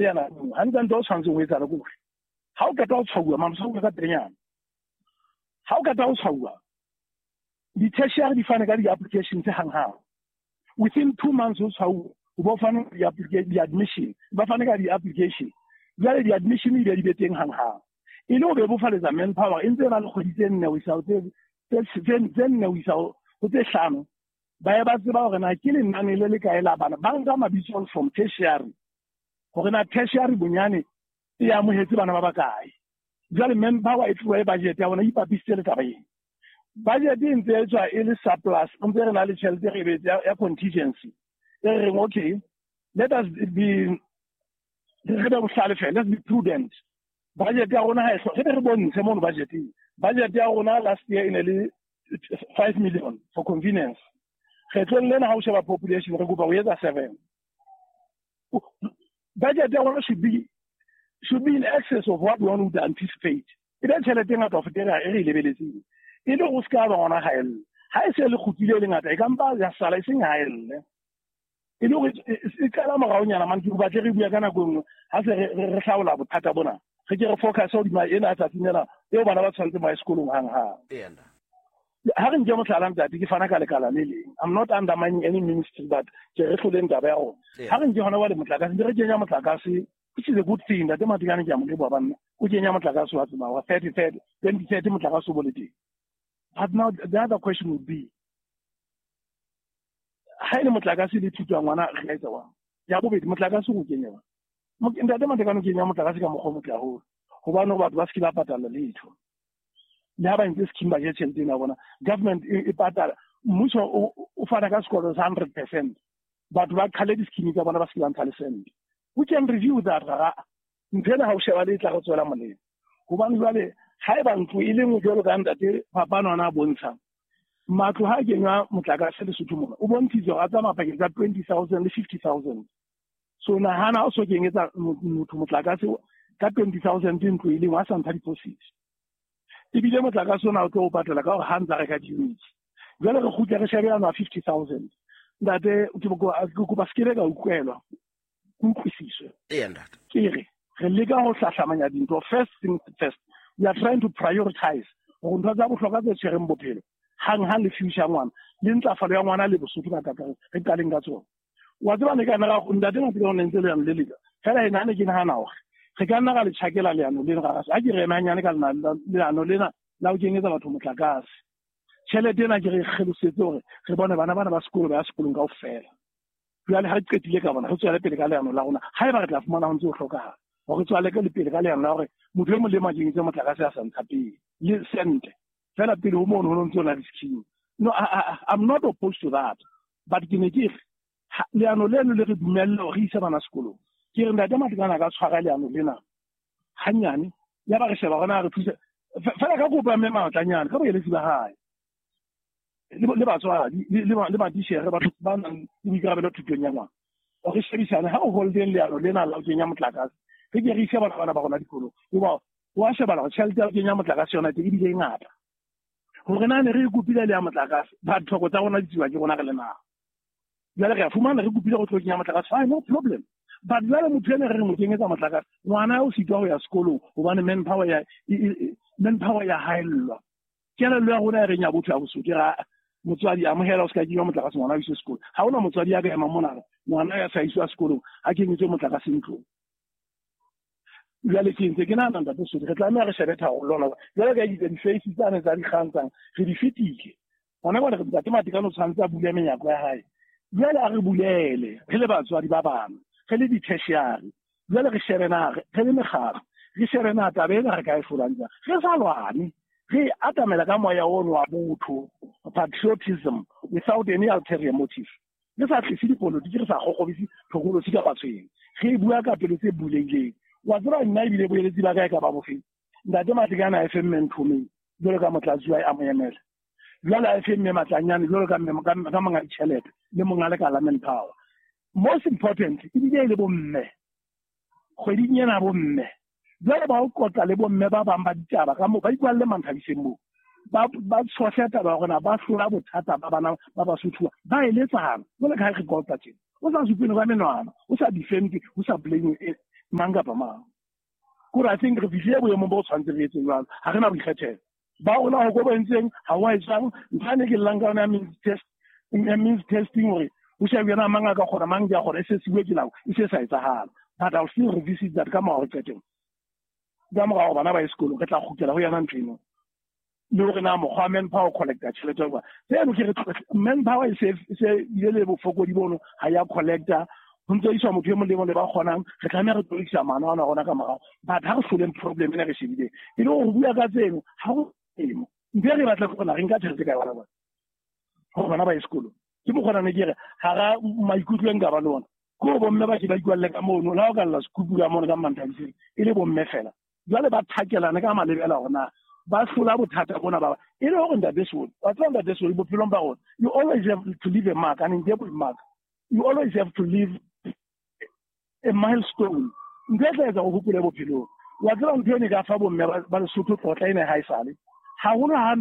Yana hantle o tshwanetse ho etsahala ke hore ha o qeta ho tshwauwa mamosauwa ka pelenyana, ha o qeta ho tshwauwa di-tertiary di fane ka di-application tse hanghang within 2 months ho tshwauwa, o bo fane di-admission, ba fane ka di-application. Jwale di-admission di be di be teng hanghang, e le ho bebofaletsa manpower e ntse e na le kgwedi tse 4 ho isa ho tse 4 ho isa ho tse 5, ba ye ba tseba hore na ke lenane le le kae la bana ba nka mabitso from tertiary, hore na tertiary bonyane e amohetse bana ba bakae. Jwale manpower e tloha e budget ya bona e ipapisitse le taba ena. Budget e ntse e tswa e le surplus, ntse re na le tjhelete re betse ya contingency e re reng, okay, let us be, re be bohlale fela, let's be prudent. Budget ya rona ha e re be re bontshe mono budgeteng. Budget ya rona last year e ne le 5 million for convenience. Kgetlong lena ha o sheba population, re kopa ho etsa 7. Budget ya rona should be in excess of what one would anticipate, e be tjhelete e ngata ho feta e re e lebeletseng, e le go se ka ba gona haelle. Ha e se le kgutlile e le ngata, e ka mpa ya sala e seng haelle, e le gore e qala moraonyana mane. Ke batle re bua ka nako e nngwe ha se re hlaola bothata bona, re ke re focus hodima ena tsatsing ena eo bana ba tshwanetseng ba ye sekolong hang-hang. Ha re nke mohlala, ntate, ke fana ka lekala le leng. I'm not undermining any ministry, but ke re hloleng taba ya rona. Ha re nke hona jwale motlakase, ntse re kenya motlakase, which is a good thing. Ntate Matekane, ke a mo leboha banna, o kenya motlakase wa tseba wa 30 30 2030, motlakase o bo le teng. But now the other question would be, ha e le motlakase le thuto ya ngwana, re ka etsa wang? Ya bobedi, motlakase o kenya wang? Ntate Matekane o kenya motlakase ka mokgwa o motle haholo, hobane batho ba se ke ba patala letho le ha ba ntse scheme, ba je tjhelete ena ya bona. Government e patala, mmuso o fana ka sekoloto sa 100%, batho ba qhale di-scheme tsa bona, ba se ke ba ntsha le sente. We can review that. Rara ntho ena ha o sheba le e tla re tswela molemo, hobane jwale ha eba ntlo e le nngwe, jwalo ka ntate Phapano ana a bontsha matlo ha kenywa motlakase Lesotho mona, o bontshitse hore a tsamaya pakeng tsa 20,000 le 50,000. So nahana o so kenyetsa motho motlakase ka 20,000 ntlo e lengwe, a sa ntsha deposit, ebile motlakase ona o tlo o patala ka hore ha ntsa reka di-units. Jwale re kgutle re shebe yano a 50,000. Ntate, ke kopa se ke ka utlwelwa, ke utlwisiswe. Eya, ntate. Ke re re leka ho hlahlamanya dintho. First thing first, we are trying to prioritize hore ntho tsa bohlokwa tse tshwereng bophelo hang-hang le future ya ngwana le ntlafalo ya ngwana le Bosotho ka kakaretso, re qaleng ka tsona. Wa tseba ne ka nna ntate Mapele o ne ntse leano le leka fela ena ne ke nahana hore re ka nna ra le tjhakela leano lena ra ha ke re ema hanyane ka leano lena la ho kenyetsa batho motlakase. Tjhelete ena ke re kgelosetse hore re bone bana bana ba sekolo ba ya sekolong kaofela. Jwale ha re qetile ka bona, re tswele pele ka leano la rona, ha eba re tla fumana ho ntse ho hlokahala hore re tswale ka le pele ka leano la hore motho e mong le e mong a kenyetse motlakase a sa ntsha pele le sente fela pele ho mono ho no ntse o na le scheme. No, I'm not opposed to that, but ke ne ke re leano leno le re dumelle hore re ise bana sekolong. Ke re ntate Matekane a ka tshwara leano lena hanyane, ya ba re sheba hore na re thuse fela ka kopo ya mme Matlanyane ka boeletsi ba hae le batswadi le matitjhere, batho ba nang le boikarabelo thutong ya ngwana, re shebisane ha o holdeng leano lena la ho kenya motlakase, re ke re ise bana bana ba rona dikolong, hoba wa shebala hore tjhelete ya ho kenya motlakase yona teng ebile e ngata, hore na ne re e kopile le ya motlakase. Batlhoko tsa rona di tsiwa ke rona re le naha. Jwale re a fumana re kopile go tlo kenya motlakase, fine, no problem, but jwale motho ene re re mo kenyetsa motlakase, ngwana o sitwa ho ya sekolong hobane manpower ya haellwa. Kelello ya rona e reng ya botho ya Bosotho ra motswadi amohela o se ka kenywa motlakase, ngwana o iswe sekolo. Ha hona motswadi ya ka emang mona re ngwana ya sa iswa sekolong ha kenyetswe motlakase ntlong. Jwale ke ntse ke nahana, ntate Sotho, re tlameha re shebe tharollo hona jwale ka itse di-face tsane tsa dikgang tsang re di fetile hona jwale. Ntate Matekane o tshwanetse a bule menyako ya hae jwale, a re bulele re le batswadi ba bana, re le di-tertiary. Jwale re shebe na re le mekgatlo, re shebe na taba ena re ka e hlolang jwang, re sa lwane, re atamela ka moya ono wa botho, patriotism, without any ulterior motive, re sa tlise dipolotiki, re sa kgokgobise tlhokolosi kapa tshweng, re bua ka pelo tse bulehileng. Wa tseba nna ebile boeletsi ba ka e ka ba bofeng? Ntate Matekane a efe mme Nthomeng jwalo ka motlatsi wa a mo emela, jwale a efe mme Matlanyane jwalo ka mme ka monga ditjhelete le monga lekala manpower. Most important ebile e le bomme kgweding ena, bomme jwale ba o qoqa le bomme ba bang ba ditaba ka moo ba ikwalle Manthabiseng moo, ba tshohle taba ya hore ba hlola bothata ba bana ba Basotho, ba eletsana jwale ka ha re qoqa tjena, o sa supene ka menwana, o sa defend, o sa blame. Mang kapa mang. Kore I think re fihlile boemong bo tshwanetse re etseng jwalo. Ha re na boikgethelo. Ba rona ho ko bo entseng ha wa etsang ntho ane ke llang ka yona ya means testing hore o shebe yena mang a ka kgona mang ke a kgona e se siwe ke nako e se sa etsahala. But I'll still revisit that ka mora qetelo. Ka mora hore bana ba ye sekolong re tla kgutlela ho yona ntho eno. Le hore na mokgwa manpower collector tjhelete ba. Tseno ke re manpower e se ile le bofokodi bono ha ya collector ho ntse iswa motho e mong le mong le ba kgonang re tlameha re tlo maano ana rona ka morao. But ha re hloleng problem ena re shebileng e le hore bua ka tseno ha go emo ntho e re batla go re nka tjhelete ka yona hore bana ba ye sekolong. Ke mokgona ne ke re hara maikutlo e nka ba le ona ke ho bomme ba ke ba ikwalle ka mono le ha o ka lla sekupu ka mono ka Manthabiseng e le bomme fela. Jwale ba thakelane ka malebela hore na ba hlola bothata bona ba e le hore ntate Soli wa tseba ntate Soli bophelong ba rona you always have to leave a mark, an indelible mark. You always have to leave a milestone. Ntho e tla etsa o hopole bophelong. Wa tseba ntho ene ka fa bomme ba Lesotho tlotla ene ha e sale. Haholo ha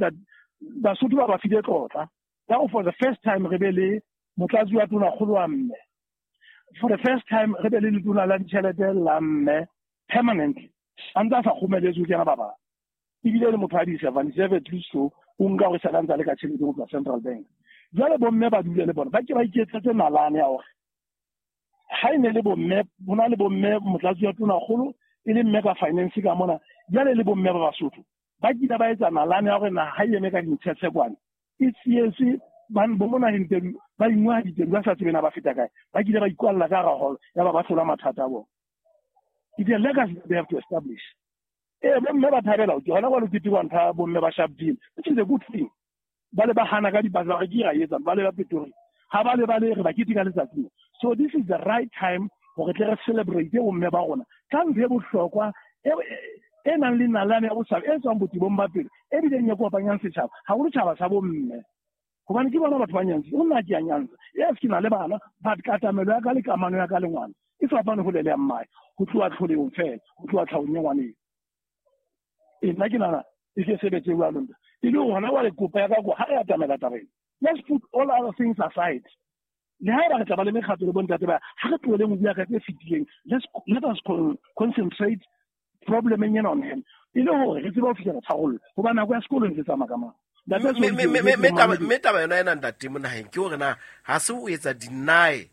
Basotho ba ba file tlotla. Ka for the first time re be le motlatsi wa tonakgolo wa mme. For the first time re be le letona la ditjhelete la mme permanently. A ntse a sa kgomeletswe ke yena ba bang. Ebile le motho a di-77 at least o nka hore sa ntse a le ka tjhelete ho tswa Central Bank. Jwale bomme ba dule le bona ba ke ba iketsetse nalane ya hore ha e ne le bomme ho na le bomme motlatsi wa tonakgolo e le mme ka finance ka mona jwale le bomme ba Basotho ba kile ba etsa nalane ya hore na ha e eme ka dintshetshe e tsietse bo mona naheng ba ingwa diteng ba sa tsebe na ba feta kae ba kile ba ikwalla ka hara hall ya ba ba hlola mathata a bona. It's a legacy they have to establish. Bomme ba thabela ke hona kwa ketekwa ntho bomme ba Sharpeville, which is a good thing. Ba le ba hana ka dipatla ba re ke ra etsa ba le ba Pretoria ha ba le ba le re ba keteka letsatsi. So this is the right time hore tle re celebrate bomme ba rona ka ntho e bohlokwa e nang le nalane ya botjhaba e tswang botebong ba pelo e bileng e kopanyang setjhaba haholo tjhaba sa bomme. Hobane ke bona batho ba nyantsa o nna ke a nyantsa yes ke na le bana but katamelo ya ka le kamano ya ka le ngwana e fapane ho le ya mmae ho tloha tlholehong fela ho tloha tlhahong ya ngwaneng. E nna ke nana e ke sebetse jwalo nta e le hona wa le kopa ya ka ko ha re atamela tabeng. Let's put all other things aside. Le ha re tla ba le mekgatlo le bontate ba ha re tlohele ho bua ka tse fetileng. Let us concentrate problem ena on hand e le hore re tsebe ho fihlela tharollo hoba nako ya sekolo ntse tsamaya ka mang. Mme taba yona ena ntate Monaheng ke hore na ha se o etsa deny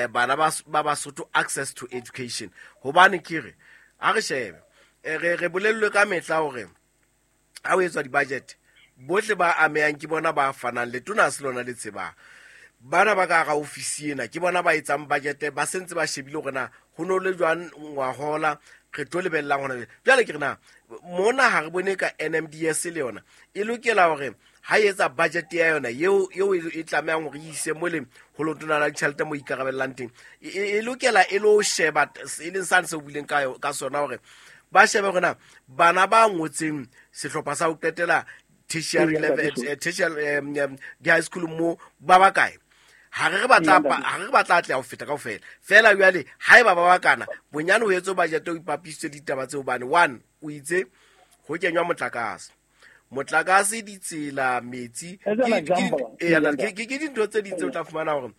bana ba Basotho access to education. Hobane ke re ha re shebe re bolellwe ka mehla hore ha o etswa di-budget bohle ba amehang ke bona ba fanang le tona se lona le tsebang. Bana ba ka hara ofisi ena ke bona ba etsang budget ba sentse ba shebile hore na ho no le jwang ngwahola re tlo lebellang hona jwale. Ke re na mona ha re bone ka NMDS le yona e lokela hore ha e etsa budget ya yona eo e tlamehang hore e ise mole ho lotona la ditjhelete mo ikarabellang teng e lokela e lo sheba e leng sane se o buileng ka sona hore ba shebe hore na bana ba ngotseng sehlopha sa ho qetela tertiary level tertiary di high school mo ba ba kae. Ha re batla atleha ho feta kaofela fela jwale haeba ba bakana bonyane ho etswe budget o ipapisitse ditaba tseo bane one o itse ho kenywa motlakase ditsela metsi ke dintho tse ding tse o tla fumana hore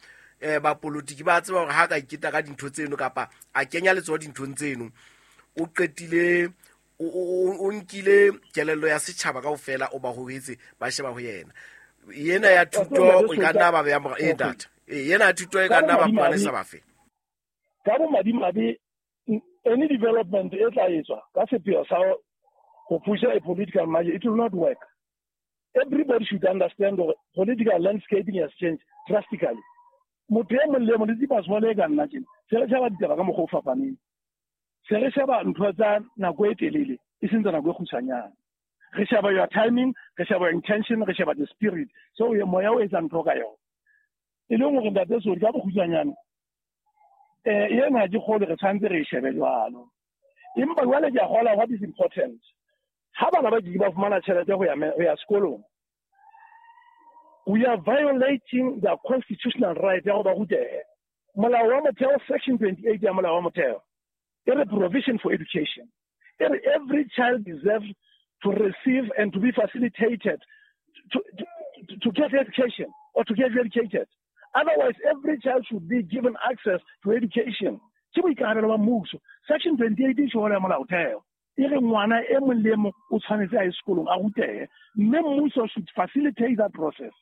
bapolitiki ba tseba hore ha ka iketa ka dintho tseno kapa a kenya letsoho dinthong tseno o qetile o nkile kelello ya setjhaba kaofela o ba hohetse ba sheba ho yena. Yena ya thuto e ka nna ba beya mora e data yena ya thuto e ka nna ba pwane sa bafe ka bo madimabe. Any development e tla etswa ka sepheo sa ho pusha a political margin, it will not work. Everybody should understand the political landscaping has changed drastically. Motho e mong le mong le tsipasole ka nna tjena se re sheba ditaba ka mokgwa o fapaneng, se re sheba ntho tsa nako e telele e seng tsa nako e kgutshwanyane. Re sheba your timing, re sheba your intention, re sheba the spirit. So moya o etsa ntho ka yona e leng hore ntate Soli ka bokgutshwanyane ena ke kgolo re tshwanetse re e shebe jwalo. Empa jwale ke a kgola what is important. Ha bana ba ke ba fumana tjhelete ho ya sekolong, we are violating the constitutional right ya ho ba rutehe. Molao wa motheo section 28 ya molao wa motheo e re provision for education. E re every child deserves to receive and to be facilitated to get education or to get educated. Otherwise, every child should be given access to education. Ke boikarabelo ba mmuso. Section 28 e tjho ya molaotheo e re ngwana e mong le e mong o tshwanetse a ye sekolong a rutehe, mme mmuso should facilitate that process.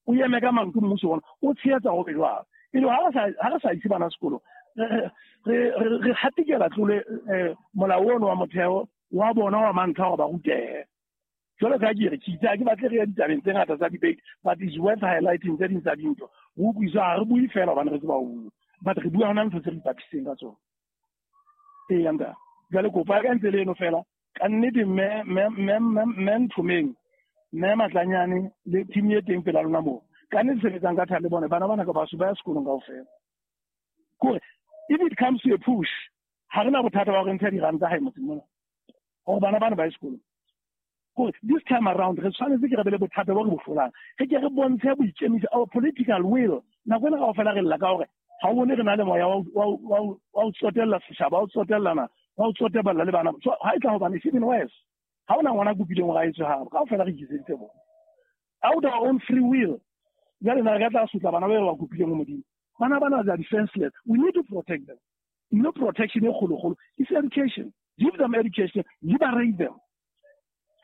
O eme ka maoto mmuso ona o tshehetsa ho be jwalo. E le ha re sa ise bana sekolong, re hatikela tlole molao ono wa motheo wa bona wa mantlha hore ba rutehe. Jwalo ka ke re ke itse ha ke batle re ya ditabeng tse ngata tsa debate, but it's worth highlighting tse ding tsa dintho. Re utlwiswa ha re bue fela hobane re tseba ho bua, but re bua hona ntho tse re ipapisitseng ka tsona. Eya ntate, jwale kopo ya ka ntse le eno fela. Ka nnete mme Nthomeng, mme Matlanyane le team e teng pela lona moo, ka nnete sebetsang ka thata le bone bana bana ka baso ba ya sekolong kaofela. Kore if it comes to a push, ha re na bothata ba hore ntsha diranta hae motseng mona hore bana bana ba ye sekolong. Kore this time around re tshwanetse ke re be le bothata bo re bo hlolang, re ke re bontshe boikemiso, our political will. Nako ena kaofela re lla ka hore ha o bone re na le moya wa ho tsotella setjhaba, wa ho tsotellana, wa ho tsoteballa le bana. So ha e tla hobane it's even worse. Ha hona ngwana a kopileng hore a etswe habo, kaofela re iketseditse bona out our own free will. Jwale na re ka tla sotla bana ba re ba kopileng ho Modimo? Bana bana they are defenseless. We need to protect them. No protection e kgolokgolo is education. Give them education, liberate them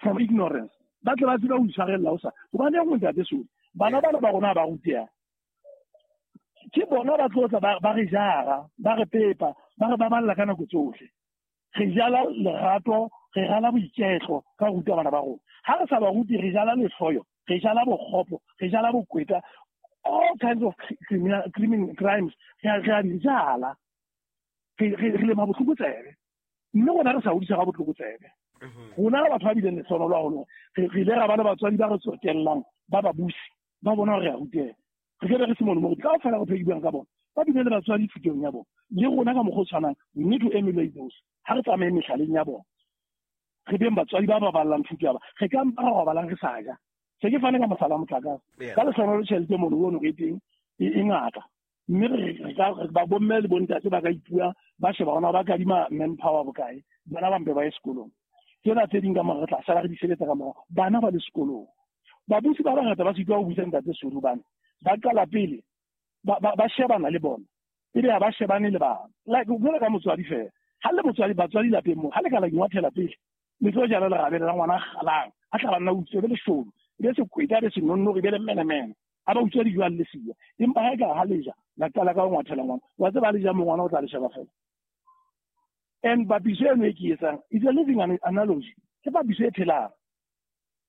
from ignorance. Ba tle ba tsebe ho itshwarella ho sa. Hobane e nngwe ntate Soli, bana bana ba rona ba ruteha. Ke bona ba tlo tla ba re jara, ba re pepa, ba re baballa ka nako tsohle. Re jala lerato, re jala boiketlo ka ho ruta bana ba rona. Ha re sa ba rute, re jala lehloyo, re jala bokgopo, re jala bokweta, all kinds of crimes re a di jala. Re lema botlokotsebe. Mme rona re sa hodisa ka botlokotsebe. Rona batho ba bileng lehlohonolo haholo, re ile ra ba le batswadi ba re tsotellang, ba babusi, ba bona hore re a ruteha. Re ke be re se mono mo kaofela re phedi buang ka bona, ba bile le batswadi thutong ya bona. Le rona ka mokgwa o tshwanang, we need to emulate those. Ha re tsamaye mehlaleng ya bona, re beng batswadi ba baballang thuto ya ba. Re ka mpa ra robalang re sa ja. Se ke fane ka mohlala motlakase. Ka lehlohonolo tjhelete mono ono re teng e ngata. Mme re ka ba bomme le bontate ba ka ipua, ba sheba hona ba kadima manpower bokae, bana ba mpe ba ye sekolong. Tsena tse ding ka mora re tla sala re di sebetsa ka mora bana ba le sekolong. Babusi ba bangata ba sitwa ho buisa ntate Soli hobane ba qala pele ba shebana le bona, ebe ha ba shebane le bana. Like jwalo ka motswadi fela, ha le motswadi batswadi lapeng moo, ha le ka la ingwathela pele, le tlo jala lerabele la ngwana a kgalang, a tla ba nna utswe, be leshodu, be sekweta, be senonnori, be le menemene. Ha ba utswa dijo a le siya. Empa ha e ka ha le ja, la qala ka ho ngwathela ngwana. Wa tseba le ja mo ngwana o tla le sheba fela. And papiso eno e ke etsang is a living analogy. Ke papiso e phelang.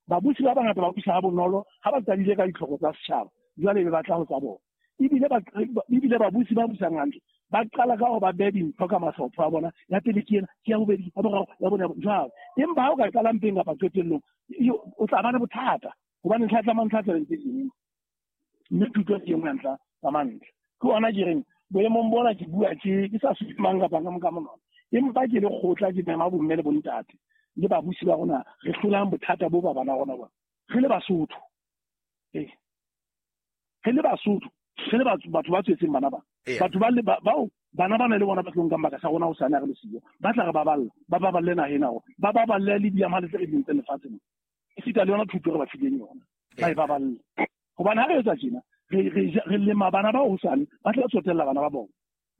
Babusi ba bangata ba busa ha bonolo ha ba qadile ka ditlhoko tsa setjhaba, jwale be ba tla ho tsa bona. Ebile babusi ba busang hantle ba qala ka hore ba behe dintho ka mahlopho a bona. Ya pele ke ena, ke ya bobedi, ya boraro, ya bone, jwalo. Empa ha o ka qala mpeng kapa qetellong, o tla ba le bothata. Hobane ntlha tsa mantlha tsa tse ding. Mme thuto ke nngwe ya ntlha tsa mantlha. Ke ona ke reng boemong bona ke bua ke sa supe mang kapa mang ka monwana. Empa ke le kgotla ke mema bomme le bontate le babusi ba rona re hlolang bothata bo ba bana rona bona. Re le Basotho. Re le Basotho, re le batho ba tswetseng bana ba. Batho ba le bao bana bana le bona ba tlo nkang baka sa rona ho sane re le siyo. Ba tla re baballa, ba baballe naha ena rona. Ba baballe le diamale tse re di entseng lefatsheng. Esita le yona thuto re ba fileng yona. Ba e baballe. Hobane ha re etsa tjena, re lema bana ba hosane, ba tla tsotella bana ba bona.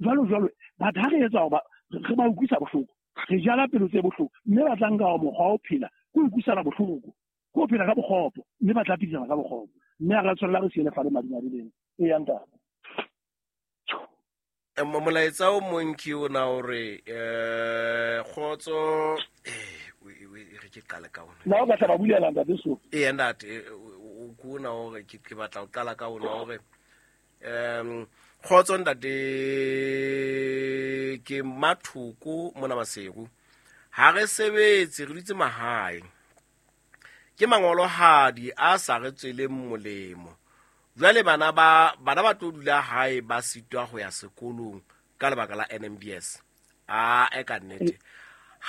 Jwalo jwalo, but ha re etsa hoba re ba utlwisa bohloko, re jala pelo tse bohloko, mme ba tla nka mokgwa wa ho phela, ke ho utlwisana bohloko, ke ho phela ka bokgopo, mme ba tla phedisana ka bokgopo. Mme ha re tshwanela re siele fale madimabe lena. Eya ntate. Molaetsa o mong ke ona hore kgotso re ke qale ka ona. Na o batla ba bulela ntate so? Eya ntate, o ke ona hore ke batla ho qala ka ona hore kgotso ntate ke Mathoko mona Maseru. Ha re sebetse re dutse mahae. Ke mangolohadi a sa re tsweleng molemo. Jwale bana ba tlo dula hae ba sitwa ho ya sekolong ka lebaka la NMDS. A e ka nnete.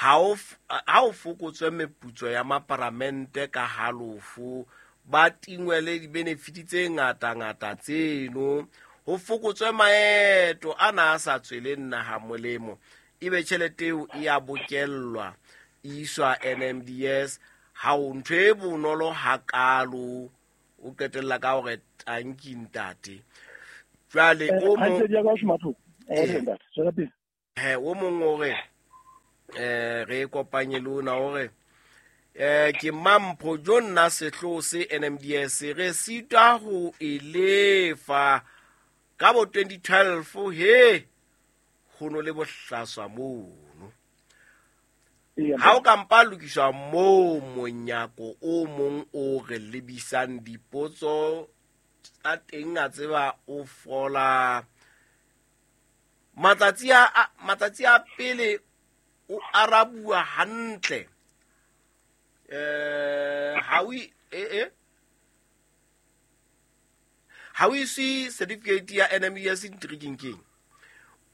Ha o fokotswe meputso ya maparamente ka halofo, ba tingwe le di-benefit tse ngata-ngata tseno, ho fokotswe maeto a na a sa tsweleng naha molemo, ebe tjhelete eo e a bokellwa, e iswa NMDS. Ha o ntho e bonolo hakalo, o qetella ka hore tanki ntate. Jwale o mo He o mong o re re kopanye le ona o re ke Mampho jo nna sehloho se NMDS re sitwa ho e lefa ka bo 2012 he ho no le bohlaswa mono. Ha o ka mpa lokiswa moo monyako o mong o re lebisang dipotso tsa teng a tseba o fola matsatsi a pele o arabua hantle ha o ise certificate ya NMDS intriguing king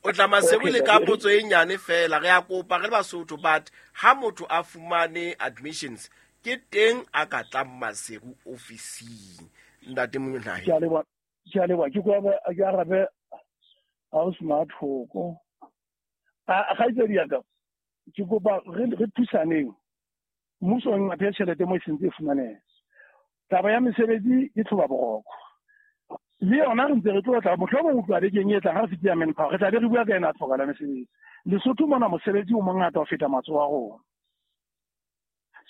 o tla Maseru le ka potso e nyane fela re a kopa re le Basotho but ha motho a fumane admissions ke teng a ka tlang Maseru ofising ntate Monaheng. Ke a leboha ke kopa ke arabe house mathoko a kgaitsedi ya ka ke kopa re thusaneng mmuso o ngata tjhelete mo e sentse e fumaneha. Taba ya mesebetsi ke tlhoba boroko le yona re ntse re tlo tla mohlomong o tla bekeng e tlang ha re fitile manpower re tla be re bua ka ena tlhoka la mesebetsi. Lesotho mona mosebetsi o mongata ho feta matsoho a rona,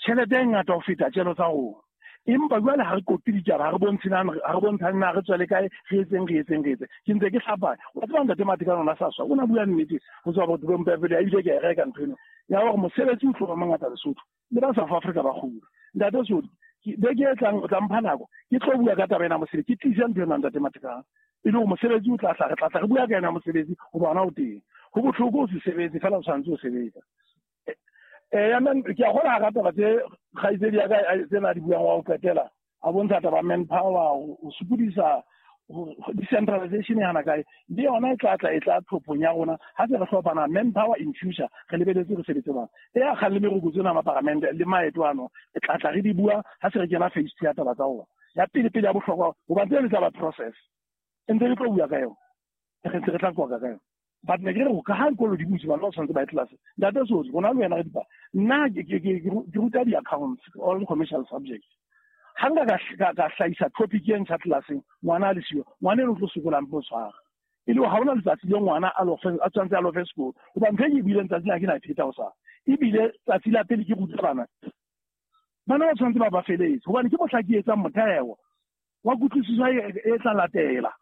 tjhelete e ngata ho feta tjelo tsa rona, empa jwale ha re kopi ditaba, ha re bontshane na re tswele kae, re etseng. Ke ntse ke hlapanya wa tseba ntate Matekane ona sa swa o na bua nnete ho tswa botho bo mpepele a ile ke e reka ntho eno ya hore mosebetsi o tlo ba mongata Lesotho le ba South Africa ba kgula. Ntate Sodi beke e tlang o tla mpha nako ke tlo bua ka taba ena mosebetsi, ke tlisa ntho ena ntate Matekane e le hore mosebetsi o tla tla re tla re bua ka ena mosebetsi ho bona o teng. Ho bohloko o se sebetse fela o tshwanetse o sebetsa. Ya men ke a gola ga taba tse kgaitsedi ya ka tsena di buang wa ho qetela a bontsha taba manpower o sokodisa decentralization e hana kae le yona e tla tla e tla tlhophong ya rona ha se re hlopana manpower in future re lebeletse re sebetse bana e a kgang le merokotso ena maparamente le maeto ano e tla tla re di bua ha se re kena phase 2 ya taba tsa rona ya pele pele ya bohlokwa hoba tsena tsa ba process e ntse re tlo bua ka yona re ntse re tla qoqa ka yona. But ne ke re ka ha dikolo di butse bana ba tshwanetse ba ye class. Ntate Sodi rona le wena re dipa nna ke ruta di-accounts all commercial subjects. Ha nka ka hlahisa topic e ntjha classeng ngwana a le siyo ngwana eno o tlo sokolang po tshwara e le ha hona letsatsi le ngwana a tshwanetse a lofe sekolo hoba ntho e ke e buileng tsatsi la ke na e pheta ho sa ebile tsatsi la pele ke ruta bana ba tshwanetse ba feletse hobane ke mohla ke etsang motheo wa kutlwisiso e tla latela.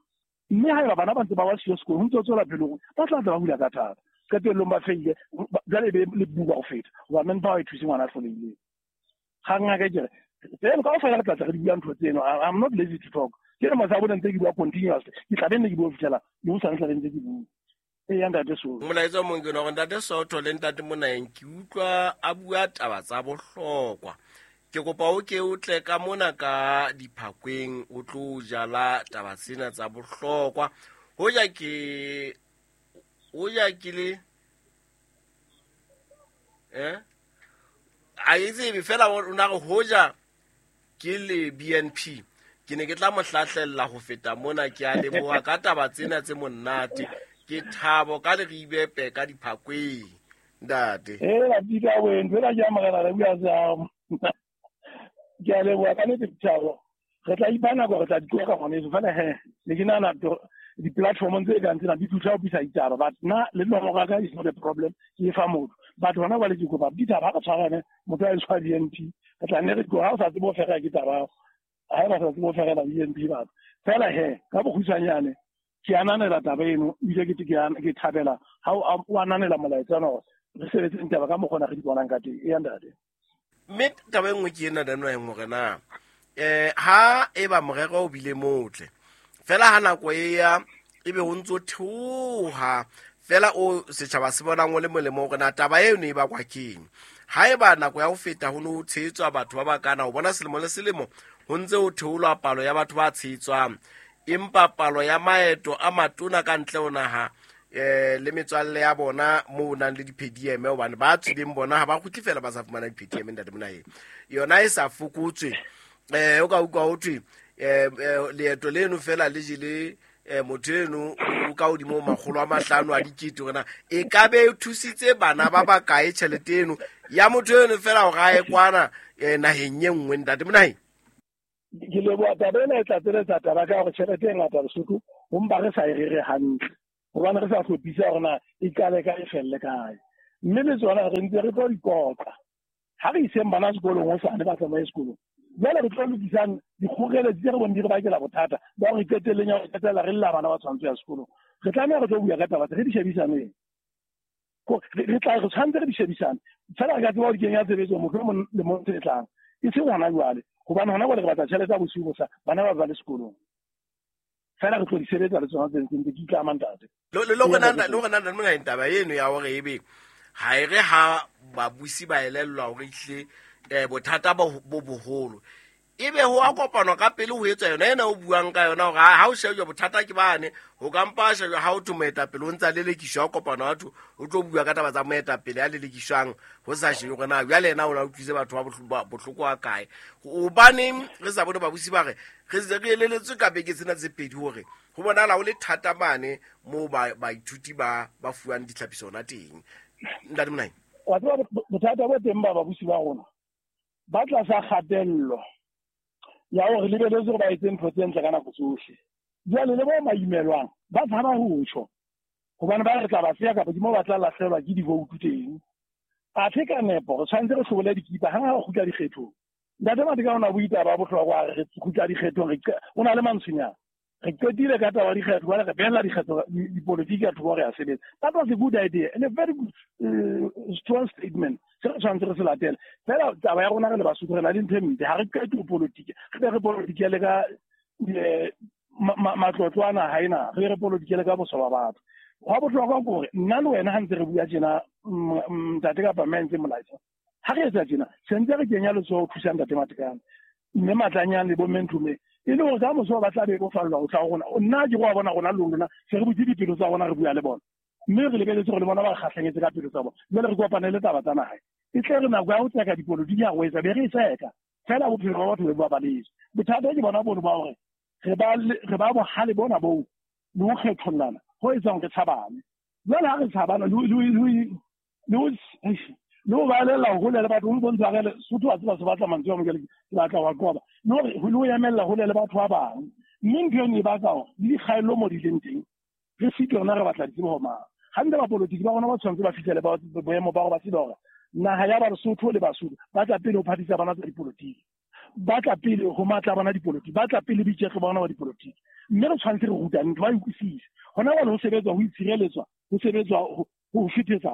Mme haeba bana ba ntse ba wa siyo sekolo ho ntse ho tswela pele hore ba tla tla ba hula ka thata qetellong ba feile jwale e be le buka ho feta hoba manpower e thuse ngwana a hlolehileng. Kgang ya ka ke re tseno kaofela re tla tla re di bua ntho tseno. I'm not lazy to talk. Ke re motho a bone ntse ke bua continuously ke tla be nne ke bua ho fihlela le hosane tla be ntse ke bua. Eya ntate Sotho. Molaetsa o mong ke ona hore ntate Sotho le ntate Monaheng ke utlwa a bua taba tsa bohlokwa. Ke kopa o ke o tle ka mona ka diphakweng o tlo jala taba tsena tsa bohlokwa. Hoja ke le a e tsebe fela o na re hoja ke le BNP ke ne ke tla mo hlahlella ho feta mona. Ke a leboha ka taba tsena tse monate. Ke thabo ka leribepe ka diphakweng ntate. La pika wena fela ke a morena re bua jang. Ke a leboha ka nnete Thabo. Re tla ipha nako re tla di qoqa ngwaneso fela he ne ke nahana di-platformong tse kang tsena di thusa ho bisa ditaba but nna le nomoro ya ka is not a problem ke e fa motho but hona jwale ke kopa ditaba ha re tshwarane motho a tshwa BNP re tla nne re ha o sa tsebe ho fera ke taba ha eba sa tsebe ho ferela BNP batho fela he ka bokgutshwanyane ke ananela taba eno ebile ke thabela ha o ananela molaetsa ona hore re sebetseng taba ka mokgwa ona re di bonang ka teng. Eya ntate. Mme taba e nngwe ke ena Naheng hore na ha eba morero o bile motle fela ha nako e ya ebe ho ntso theoha fela o setjhaba se bonang o le molemo hore na taba eno e bakwa keng. Ha eba nako ya ho feta ho no tshehetswa batho ba bakana o bona selemo le selemo ho ntse ho theolwa palo ya batho ba tshehetswang empa palo ya maeto a matona ka ntle ho naha le metswalle ya bona mo nang le di-PDM hobane ba tswileng bona ha ba kgutle fela ba sa fumana di-PDM ntate Monaheng yona e sa fokotswe. O ka utlwa ho thwe leeto leno fela le jele motho eno o ka hodimo 500 a dikete hore na e ka be e thusitse bana ba bakae tjhelete eno ya motho eno fela hore a ye kwana naheng e nngwe ntate Monaheng. Ke leboha taba ena e tlatseletsa taba ka hore tjhelete e ngata Lesotho ho mpa re sa e rere hantle. Hobane re sa hlophisa hore na e qale kae e felle kae. Mme le tsona re ntse re tlo di qoqa. Ha re iseng bana sekolong hosane ba tsamaye sekolong. Jwale re tlo lokisang dikgoreletsi tse re boneng di re bakela bothata ba hore qetelleng ya ho qetella re lla bana ba tshwanetse ya sekolong. Re tlameha re tlo bua ka taba tse re di shebisaneng. Re tshwanetse re di shebisane. Fela re ka tseba ho di kenya tshebetsong mohlomong lemong se tlang. E seng hona jwale. Hobane hona jwale re batla tjhelete ya bosiu bo sa bana ba ba le sekolong. Fela re tlo di sebetsa le tsona tse ntse ke itlama ntate. Le hore na taba eno ya hore ebe ha e re ha babusi ba elellwa hore ehlile bothata bo boholo ebe ho a kopanwa ka pele ho etswa yona ena o buang ka yona hore ha o shejwa bothata ke bane ho ka mpa shejwa ha o thwe moetapele o ntse a lelekiswa ho kopana batho o tlo bua ka taba tsa moetapele a lelekiswang ho sa shebe hore na jwale yena o na utlwise batho ba bohloko wa kae. Hobaneng re sa bone babusi ba re re se re eleletswe ka beke tsena tse pedi hore ho bonahala ho le thata mane moo baithuti ba fuwang ditlhapiso hona teng. Ntate Monaheng. Wa tseba bothata bo teng ba babusi ba rona ba tlasa kgatello ya hore lebeletse hore ba etse ntho tse ntle ka nako tsohle. Jwale le bo maimelwang ba tshaba ho tjho hobane ba re tla ba seya kapa ke moo ba tla lahlehelwa ke divoutu teng. Athe ka nepo re tshwanetse re hlobole dikipa hang ha re kgutla dikgethong. Ntate Matekane o na bua taba ya bohlokwa re kgutla dikgethong re o na le mantswenyana. Re qetile ka taba ya dikgetho jwale re behella dikgetho dipolotiki ka thoko re a sebetsa. That was a good idea and a very good strong statement. Se re tshwanetse re se latele. Fela taba ya rona re le Basotho re na le ntho e mpe ha re qete ho polotiki. Re be re polotiki le ka matlotlo a naha ena, re be re polotiki le ka boswa ba batho. Hwa bohlokwa ke hore nna le wena ha ntse re bua tjena ntate kapa mme ntse molaetsa. Ha re etsa tjena se ntse re kenya letsoho ho thusa ntate Matekane. Mme Matlanyane le bo mme Nthume e le hore ka moso ba tla be bofallwa ho tla ho rona. Nna ke go bona rona le lona se re butse dipelo tsa rona re bua le bona. Mme re lebeletse hore le bona ba re kgahlanyetse ka pelo tsa bona. Jwale re kopane le taba tsa naha. E tle re nako ya ho tseka dipolotiki ya ho etsa be re e tseka. Fela bophelo ba batho bo ba balehile. Bothata ke bona bono ba hore re ba bohale bona boo le ho kgethollana ho etsang re tshabane. Jwale ha re tshabana le ho balella hole le batho ho bontsha re Sotho a tseba se batla mantswe a mokele ke batla wa qoba. Le hore ho emella hole le batho ba bang. Mme ntho eno e baka hore le dikgaello mo di leng teng re sitwe rona re batla ditsebo ho mang. Hantle ba polotiki ba rona ba tshwanetse ba fihlele ba boemo ba hore ba tsebe hore naha ya Basotho le Basotho ba tla pele ho phathisa bana tsa dipolotiki. Ba tla pele ho matla bana dipolotiki, ba tla pele boiketlo ba bona ba dipolotiki. Mme re tshwanetse re rutane ntho ba e utlwisise. Hona jwale ho sebetswa ho itshireletswa, ho sebetswa ho fethetsa.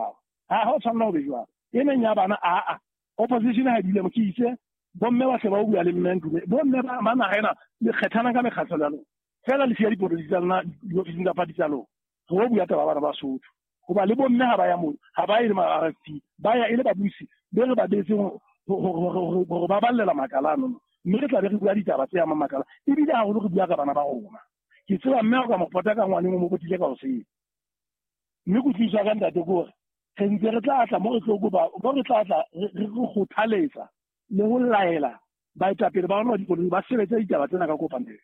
Ha ho tshwanela ho be jwalo. E meng ya bana a opposition ha dile mo ke itse bomme ba hle ba bua le mme Ntume. Bomme ba naha ena le kgethana ka mekgatlo ya lona. Fela le siya dipolotiki tsa lona diofising tsa party tsa lona. Re bua taba bana ba Sotho. Hoba le bomme ha ba ya moo, ha ba ye le ma RFP, ba ya e le babusi be re ba beetseng hore ba ballela makala ano. Mme re tla be re bua ditaba tse amang makala. Ebile haholo re bua ka bana ba rona. Ke tseba mme o ka mo pota ka ngwaneng o mo potile ka hoseng. Mme kutlwisiso ya ka ntate ke hore re ntse re tla tla mo re tlo kopa, mo re tla tla re kgothaletsa le ho laela baetapele ba rona ba dipolotiki ba sebetse ditaba tsena ka kopanelo.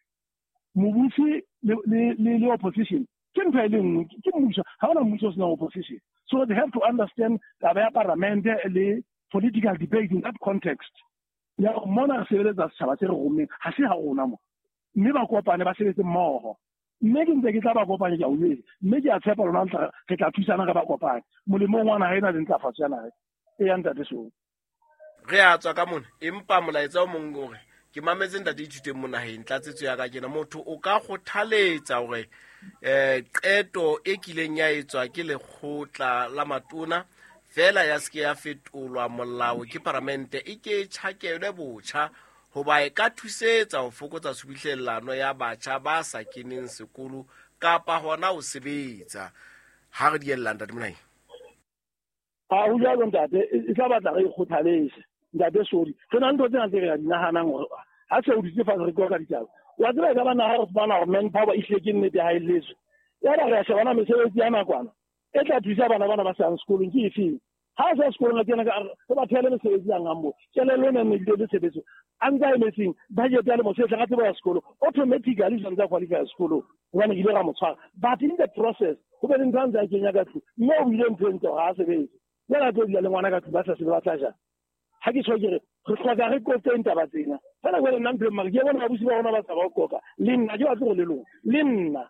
Mobusi le opposition ke ntho e le nngwe, ke mmuso. Ha hona mmuso o senang opposition. So they have to understand taba ya parliament le political debate in that context. Ya mona re sebeletsa setjhaba se re rommeng, ha se ha rona mo. Mme ba kopane ba sebetse mmoho. Mme ke ntse ke tla ba kopanya ke a o jwetsa. Mme ke a tshepa lona re tla thusana re ba kopanye. Molemong wa naha ena le ntlafatso ya naha e ya ntate Song. Re a tswa ka mona, empa molaetsa o mong o re ke mametse ntate Ithuteng Monaheng tlatsetso ya ka kena motho o ka kgothaletsa hore qeto e kileng ya etswa ke lekgotla la matona fela ya se ke ya fetolwa molao ke paramente e ke tjhakelwe botjha hoba e ka thusetsa ho fokotsa tshubuhlellano ya batjha ba sa keneng sekolo kapa hona ho sebetsa. Ha re diella ntate Monaheng. Ha ho jwalo ntate, e tla batla re ikgothaletse. Ntate sorry. Re na le ntho tsena tse re di nahanang hore ha se o dutse fatshe re qoqa ditaba. Wa tseba e ka ba naha re fumana hore manpower e hlile ke nnete ha e letswe. Ya ba re a shebana mesebetsi ya nakwana e tla thusa bana bana ba sa yang sekolong ke efeng. Ha sa sekolong a kena ka re ba thele mesebetsi ya ngambo. Kelello ena e ne le tshebetso. A ntse a emetseng budget ya lemo se tla ka tsebo ya sekolo automatically sa ntse a qualify sekolo hobane ke ile ra mo tshwara. But in the process ho be le ntho a ntse a kenya ka tlung mme o ile ntho e ntle hore ha sebetse. Jwale a tlo dula le ngwana ka tlung ba sa sebe ba tla jang. Ha ke tjho ke re re hloka re qoqeng taba tsena. Fela jwale nna ntho e mare ke bona babusi ba rona ba sa ba qoqa. Le nna ke batle hore le lona. Le nna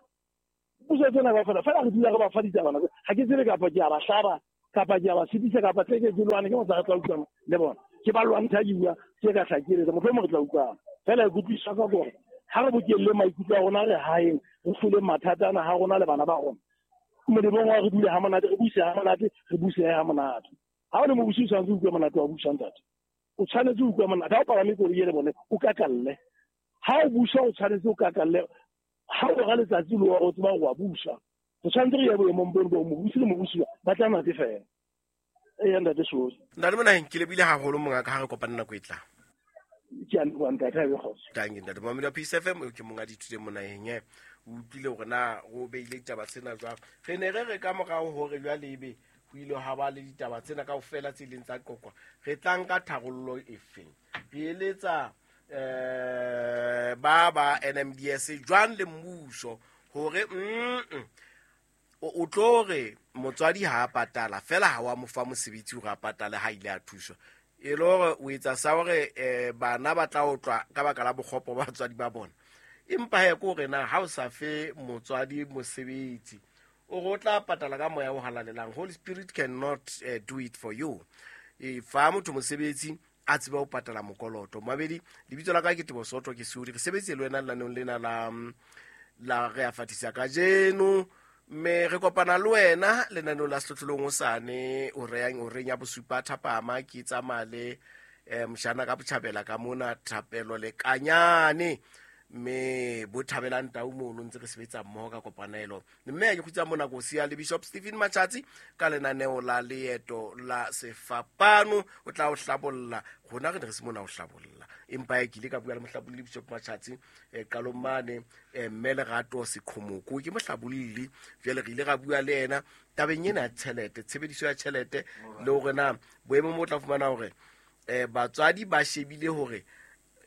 Puso tsena kaofela fela re dula re ba fa ditabana. Ha ke tsebe kapa ke a ba hlaba kapa ke a ba sitisa kapa tle ke lwane ke motsa re tla utlwana le bona. Ke ba lwantsha ke bua ke ka hlakeletsa mohlomong re tla utlwana. Fela e kutlwisisa ka gore ha re bokelle maikutlo a rona re haeng re hlole mathata ana ha rona le bana ba rona. Molemong wa re dule ha monate, re buse ha monate, re buse ha monate. Ha o le mobusi o tshwanetse o utlwe monate wa busa ntate. O tshwanetse o utlwe monate. Ha o palame koloi e le bone o kakalle. Ha o busa o tshwanetse o kakalle. Ha o ra letsatsi le o tseba hore wa busa. Re tshwanetse re ye boemong bono bo mobusi le mobusiwa ba tla natefela. Eya ntate Sozi. Ntate Monaheng, ke lebile haholo mongaka ha re kopane nako e tlang. Ke a leboha ntate, ha e be kgotso. Tanki ntate Mohammed wa Peace FM, eo ke monga dithuto Monaheng e. O utlwile hore na o beile ditaba tsena jwang. Re ne re re ka morao hore jwale ebe ho ile ha ba le ditaba tsena kaofela tse ileng tsa qoqwa. Re tla nka tharollo efeng? Re eletsa ba NMDS jwang le mmuso hore o tlo re motswadi ha a patala fela ha wa mo fa mosebetsi hore a patale ha ile a thuswa. E le hore o etsa sa hore bana ba tla otlwa ka baka la bokgopo ba batswadi ba bona. Empa he ke hore na ha o sa fe motswadi mosebetsi o re o tla patala ka moya o halalelang. Holy Spirit cannot do it for you. E fa motho mosebetsi a tsebe ho patala mokoloto. Mabedi, lebitso la ka ke Tebo Soto, ke Seodi. Re sebetse le wena lenaneong lena la re a fatisa kajeno. Mme re kopana le wena lenaneong la Sehlohlolong hosane o reng ya bosupa thapama ke tsamaya le mshana ka botjhabela ka mona Thapelo le Kanyane. Mme bo thabelang tau mono ntse re sebetsa mmoho ka kopanelo. Mme ke kgutsa mona ko siya le Bishop Stephen Machatsi ka lenaneo la leeto la sefapano. O tla o hlabolla. Rona re ne re se mona ho hlabolla. Empa ke ile ka bua le mohlabolli Bishop Machatsi qalong mane mme Lerato Sekhomoko ke mohlabolli. Jwale re ile ra bua le yena tabeng ena ya tjhelete, tshebediso ya tjhelete le hore na boemo bo tla fumana hore batswadi ba shebile hore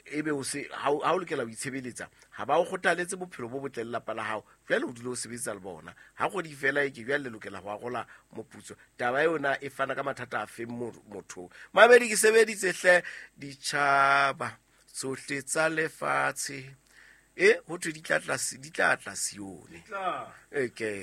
ebe o se ha o lokela ho itshebeletsa ha ba o kgothaletse bophelo bo botle le lelapa la hao jwale o dule o sebetsa le bona ha kgwedi fela e ke jwale le lokela ho arola moputso. Taba yona e fana ka mathata a feng mothong. Mamedi ke sebeditse hle ditjhaba tsohle tsa lefatshe. Ho thwe di tla tla Sione. Okay.